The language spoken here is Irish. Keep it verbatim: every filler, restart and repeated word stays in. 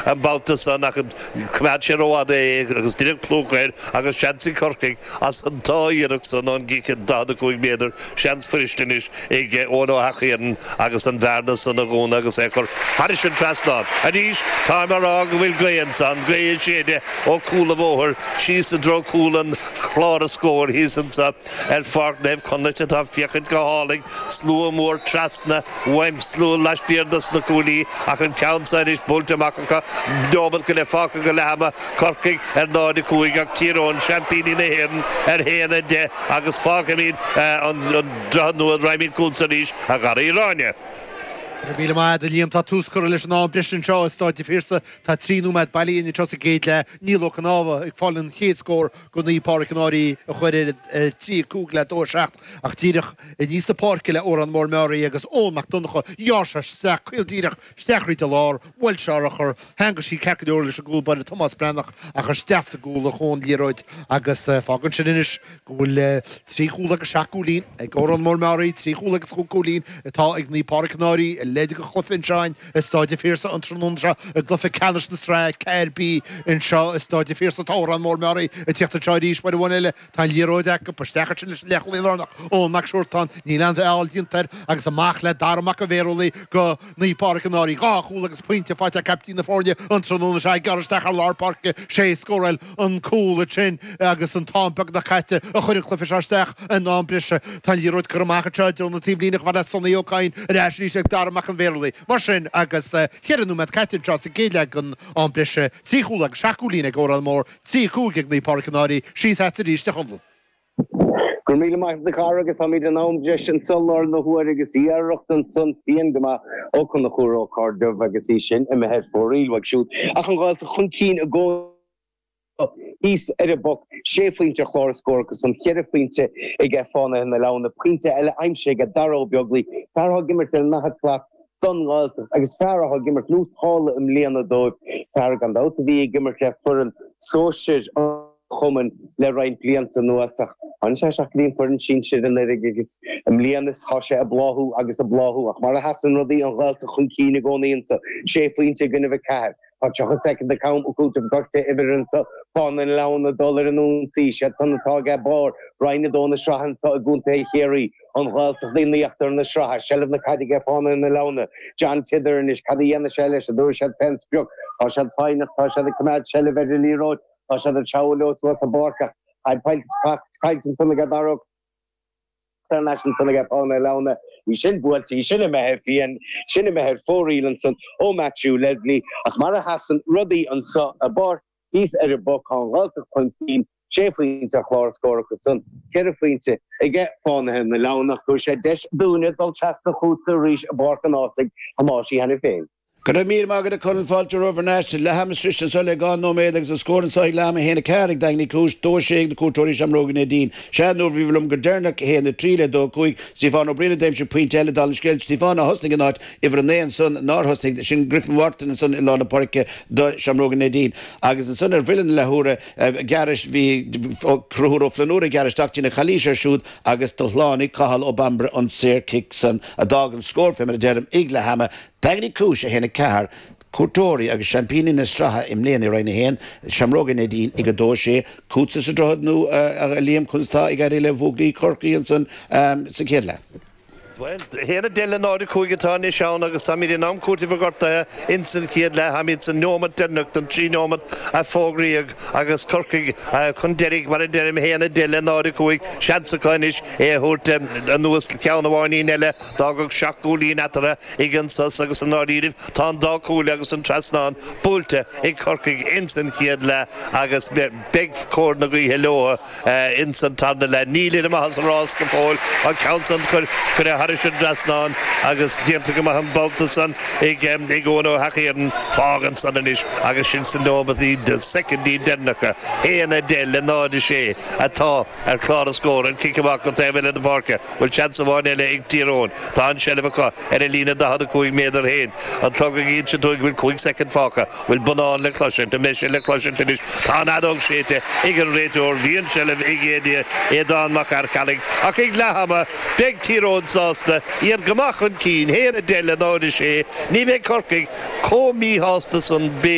an babhta san ach choimeád sé rófhada é agus deineadh plúchadh air agus seans ag Corcaigh as an dá iarracht san ón gcic daichead a cúig méadar, seans fuirist anois ag Eoin Ó hEachthiarnan agus an bhearna san a dhúnadh agus é a chur thairis an trasnán. Arís, táim á rá go bhfuil gaoth ansan, gaoth ag séideadh ó chúl an bhóthair síos i dtreo cúl an chláir scóir thíos anso ar Pháirc Naomh Conleth atá ag féachaint go hálainn, slua mór trasna uaim, slua laistiar dos na cuaillí ach an ceann seo anois buailte amach acu, neomat go leith fágtha go leath ama, Corcaigh ar náid a cúig ach Tír Eoghain, seaimpíní na hÉireann, ar haon a deich agus fágfaimid an Droichead Nua, raghaimid chugatsa arís, a Gharaí Ráine. Go raibh míle maith agat, a Liam. Tá tús curtha leis an am breise anseo i Stáid an Phiarsaigh. Tá trí nóiméad bailithe anseo sa gcéad leath. Niall Ó Cnámha ag fáil an chéad scór do Naomh Pádraig an Fhairche a chuir ar trí a cúig le dó a seacht ach díreach aníos na páirce le Órán Mór Meáraí agus Eoin Mac Donncha. Ghearr sé isteach caol díreach isteach thríd an lár. Bhuail sé urchar. Theangaigh sí ceart go leor leis an gcúl báire Tomás Breathnach ach isteach sa gcúl a chuaigh an liathróid agus fágann sin anois go bhfuil trí chúl agus seacht gcúilín ag Órán Mór Meáraí, trí chúl agus chúig chúilín atá ag Naomh Pádraig an Fhairche i leid den chluiche anseo i Stáid an Phiarsaigh an tráthnóna seo i gcluiche ceannais na sraithe ceathair B anseo i Stáid an Phiarsaigh. Tá Órán Mór Meáraí ag tíocht anseo arís uair amháin eile. Tá an liathróid acu. Isteach ansin leis an leathchúlaí lárnach, Eoin Mac Siúrtáin. Níl aon fheall déanta air agus amach le Dara Mac an Bhéarúlaí do Naomh Pádraig an Fhairche. Dhá chúl agus pointe faighte ag caiptín na foirne an tráthnóna seo ag gearradh isteach ar lár páirce. Sé a scóráil an cúl ansin agus an t-am beagnach caite a chuir an cluiche seo isteach in am breise. Tá an liathróid curtha amach anseo i dtreo na taobhlíne chomh fada le Sonny Ó Cadhain ar ais arís ag Dara Mac an Bhéarúlaí. Mar sin agus ceithre nóiméad caite anseo sa gcéad leath den am breise, trí chúl agus seacht gcúilín ag Órán Mór, trí a cúig ag Naomh Pádraig an Fhairche, síos agat arís a Chonaill. Go raibh míle maith agat a chara agus táimid in am breise anso i láthair na huaire agus iarracht ansan fiáin go maith ó Chonchúr Ó Cairdeamh agus í sin imithe ar fóraoil uaidh siúd ach an Ghaeltacht chun cinn i gcónaí thíos ar an bpoc, sé phointe ar chlár na scór acu san, ceithre phointe aige Fánaithe na Leamhna, pointe eile aimsithe aige Dara Ó Beaglaoi, fear atá ag imirt ar an ndaichead slat don nGaeltacht agus fear atá ag imirt nótálta i mbliana dóibh, fear gan dabht a bhí ag imirt le foireann sóisir an chumainn le roinnt blianta anuas ach tháinig sé isteach go dtí an foireann sinsir anuraidh agus i mbliana tá sé ag bláthú agus ag bláthú ach mar a sheasann rudaí an Ghaeltacht chun cinn i gcónaí anso, sé phointe i gcoinnibh a ceathair. Tá tríocha soicind ag am cúitimh gortaithe uimhir anso, Fánaithe na Leamhna ag dul ar an ionsaí, siad san atá ag barr Roinn a dó na sraithe anso i gContae Chiarraí, an Ghaeltacht in íochtar na sraithe, seilbh na caide aige Fánaithe na Leamhna, John Tidder anois, cad a dhéanfaidh sé leis, an dtabharfaidh siad fén sprioc, tá siad foighneach, tá siad ag coimeád seilbh ar an liathróid, tá siad ag treabhadh leo suas an bpáirc ach caillte ansan aige Dara Ó Thar n-ais ansan aige Fánaithe na Leamhna, í sin buailte, í sin imithe fiáin, sin imithe ar fóraoil ansan ó Matthew Leslie. Ach mar a sheasann rudaí anso i bpáirc thíos ar an bpoc, tá an Ghaeltacht chun cinn, sé phointe ar chlár na scór acu san, ceithre phointe aige Fánaithe na Leamhna. Tabharfaidh sé deis dúinne dul trasna chugatsa arís i bPáirc an Ághasaigh, a Thomáis cheana féin. Go raibh míle maith agat a Chonaill, fáilte romhaibh thar n-ais. Leath ama sroiste anso le dhá nóiméad agus an scór anso ag leath ama a haon a ceathair ag Daingean Uí Chúis, dó a sé ag na cuairteoirí Seamróga Neidín. Sea, nuair a bhí liom go deireanach, a haon a trí le dó a cúig, Stiofán Ó Briain a d'aimsigh pointe eile dála an scéil. Stiofán a thosnaigh in áit uimhir a naoi ansan, nár thosnaigh, sin Griffin Wharton ansan i lár na páirce do Sheamróga Neidín. Agus ansan ar bhuille na leathuaire gairid bhí Conchúr Ó Flannúra ag gearradh isteach, deineadh calaois air siúd agus do shlánaigh Cathal Ó Bambaire an saorchic san a d'fhág an scór fé mar a deirim ag leath ama. Daingean Uí Chúis a haon a ceathair, cuairteoirí agus seaimpíní na sraithe i mbliana i Roinn a haon, Seamróga Neidín ag a dó a sé, chugatsa sa Droichead Nua a Liam, conas tá ag éirí le buachaillí Chorcaí ansan sa chéad leath? Bhuel, a haon a deich le náid a cúig atá anois ann agus táimid in am cúitimh gortaithe ins an chéad leath. Táimid sa neomat deireanach den trí neomat a fógraíodh agus Corcaigh chun deiridh, mar a deirim, a haon a deich le náid a cúig. Seans acu anois é a thabhairt anuas ceann amháinín eile. D'fhágfadh seacht gcúilín eatarthu ag an sos agus i ndáiríribh tá an dá chúl agus an trasnán buailte ag Corcaigh ins an chéad leath agus beidh cóir na gaoithe leo ins an tarna leath. Nílid amach as an rás go fóill. An ceann san curtha thairis an dtrasnán agus déanta go maith an babhta san ag Eoin Ó hEachthiarnan. Fágann san anois agus sinn sna neomataí, soicindí deireanacha, haon a deich le náid a sé atá ar chlár na scór. An cic amach go taobh eile na páirce. Bhfuil seans amháin eile ag Tír Eoghain? Tá an tseilbh acu ar a líne daichead a cúig méadar féin. An clog ag insint dúinn go bhfuil cúig soicind fágtha. Bhfuil bonnán le cloisint? An mbeidh sé le cloisint anois? Tá an fheadóg séidte ag an réiteoir. Bhí an tseilbh ag Aodán Mac Fhearcheallaigh ach ag leath ama beidh Tír Eoghain sásta, iad go maith chun cinn, haon a deich le náid a sé. Ní bheidh Corcaigh chomh míshásta san, b'fhéidir.